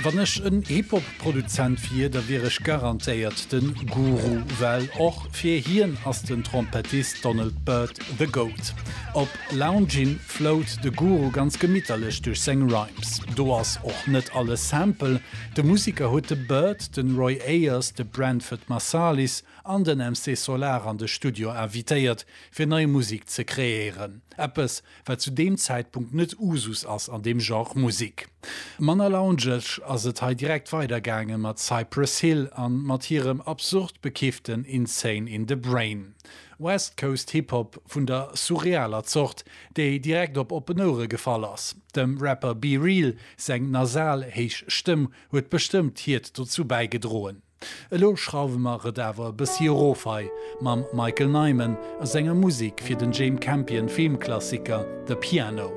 Wann ech en Hip-Hop-Produzent wier, da wier ech garantéiert den Guru, well och fir hien ass den Trompettist Donald Byrd the Goat. Op Loungin' flowt de Guru ganz gemitterlech duerch seng Rhymes. Do ass och net alles Sample, de Musiker huet de Byrd, den Roy Ayers, de Branford Marsalis an den MC Solaar an de Studio invitéiert, fir nei Musik ze kreéieren. Eppes, wat zu deem Zäitpunkt net Usus ass an deem Genre Musik. Manner loungeg ass et hei direkt weider gaange mat Cypress Hill an mat hirem absurd bekifften Insane in the Brain. West Coast Hip Hop vun der surrealer Zort, déi direkt op oppen Ouere gefall ass. Dem Rapper B-Real seng nasal héich Stëmm huet bestëmmt hiert dozou bäigedroen. Elo schrauwe mer et awer e bëssi erof hei mam Michael Nyman a senger Musek fir den Jame Campion Filmklassiker The Piano.